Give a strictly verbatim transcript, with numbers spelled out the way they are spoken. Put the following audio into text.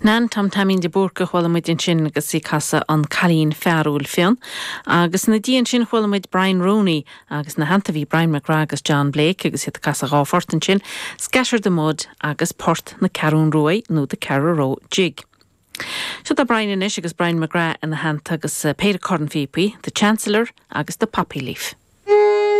Nan Tom Taimín de Búrca a chuala muid ansin agus í ag casadh an Cailín Fearúil Fionn. Agus ina dhiaidh sin chuala muid Brian Rooney agus ina theannta bhí Brian McGrath agus John Blake agus iad ag casadh dhá phort ansin, Scatter the Mud agus Port na Ceathrún Ruaidh nó the Carraroe Jig. Seo tá Brian anois agus Brian McGrath ina theannta agus eh, péire cornphíopaí, The Chancellor agus the Poppy Leaf.